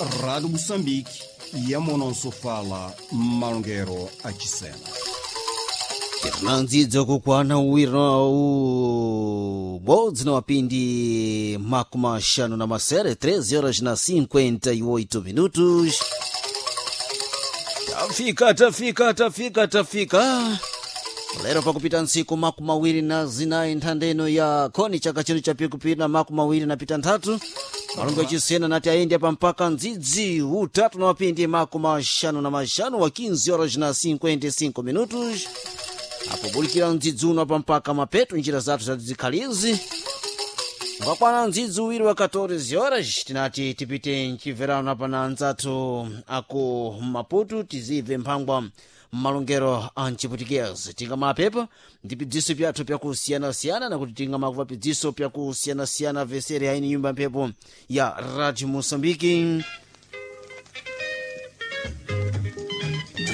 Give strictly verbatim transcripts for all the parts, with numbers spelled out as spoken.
Rádio Moçambique, yamononsofala malongero achisena. Tinandzidza kukwana uwiro ubodzi na wapindi makumi axanu na masere, treze horas na cinquenta e oito minutos. Tafika, tafika, tafika, tafika lero pakupita ntsiku makumi awiri na zinayi nthandeno ya khoni chaka chino cha pikupiri na makumi awiri na pita nthatu. Malungu achisena nati ayende pa mpaka ndzidzi utatu na wapindi makumi axanu na maxanu wa quinze horas na cinquenta e cinco minutos, apo bulikira ndzidzi uno apa mpaka mapeto njira zathu zatizikhalizi ngakwana ndzidzi uwiri wa catorze horas. Tinati tipite mchimverano apa na anzathu aku Maputo, tizive mphangwa mmalongero a mchiputikezi. Tingamapepa ndi pidziso pyathu pyakusiyanasiyana, nakuti tingamakupa pidziso pyakusiyanasiyana vesere aini nyumba mphepo ya Radio Moçambique.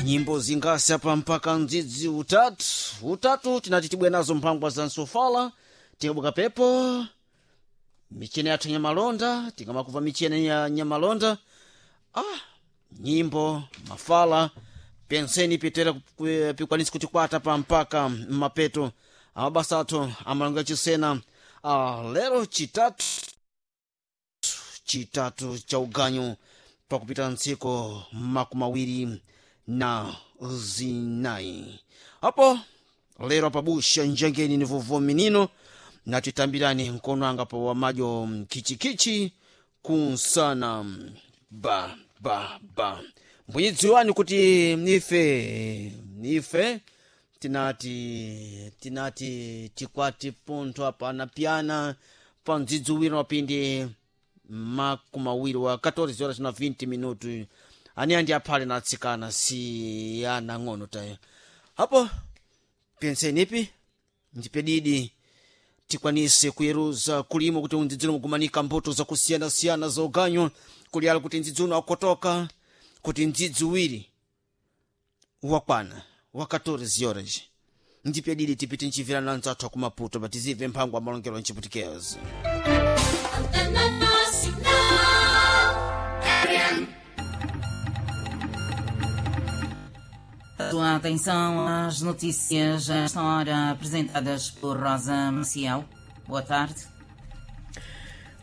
Nyimbo zingasi apa mpaka ndzidzi utatu utatu tinati tibwe nazo mphangwa za nsofala. Tikabuka pepo michene yathu nyamalonda, tikamakuva michene ya nyamalonda, ah, nyimbo mafala penseni pitera pikwanisi kutikwata pa mpaka mapeto amabasa athu amalongo achisena. Ah, lero chitatu, chitatu cha uganyu pakupita ntsiko makumi awiri na zinayi. Apo lero pabusha njengeni ni vovo minino natitambirani nkono anga pa wamadyo khichikhichi kunsana ba ba ba. Mbunyidziwani kuti ife ife tinati tinati tikwati pontho apana pyana pa mdzidzi uwiri wapindi makumi awiri wa catorze horas na vinte minutos. Ani andi aphale na atsikana si ana ng'ono tayo. Apo pensenipi ndipedidi tikwanise kuyeruza kulimo kuti undzidzino mugumanika mbuto zakusiyanasiyana za uganyu kuliala kuti ndzidzi uno akotoka kuti ndzidzi uwiri wakwana wa catorze horas. Ndipedidi tipite nchimvirana nzathu akumaputo patizive mphango amalongero nchiputikezo. Antena Nacional. Sua atenção às notícias a esta hora apresentadas por Rosa Maciel. Boa tarde.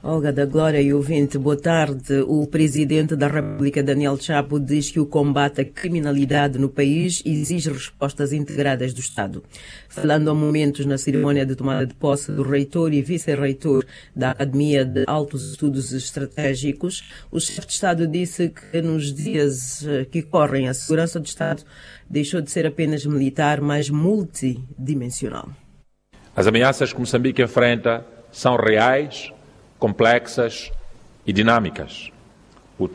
Olga da Glória e ouvinte, boa tarde. O presidente da República, Daniel Chapo, diz que o combate à criminalidade no país exige respostas integradas do Estado. Falando há momentos na cerimónia de tomada de posse do reitor e vice-reitor da Academia de Altos Estudos Estratégicos, o chefe de Estado disse que nos dias que correm a segurança do Estado deixou de ser apenas militar, mas multidimensional. As ameaças que Moçambique enfrenta são reais, complexas e dinâmicas.